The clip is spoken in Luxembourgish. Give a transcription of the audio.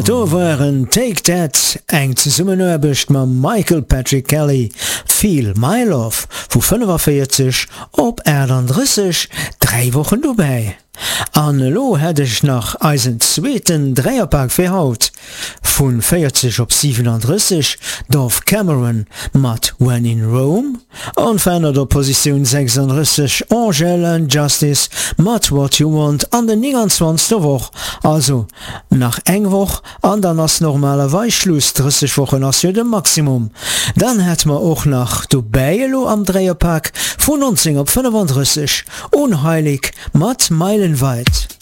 Dat do waren Take That, eng Zesummenaarbecht mam Michael Patrick Kelly, Feel My Love, vu 45 op 38, 3 Wochen dobäi. An elo hätt ech nach eisen zweeten Dräierpak fir haut, Vun 40 op 37, Dove Cameron mat When in Rome, onverännert op Positioun 36, Angèle and Justice mat What You Want an der 29. Woch. Also nach eng Woch an dann ass normalerweis Schluss, 30 Wochen ass jo de Maximum. Dann hätt mer och nach dobäi elo am Dräierpak vu 19 op 35, Unheilig mat Meilenweit.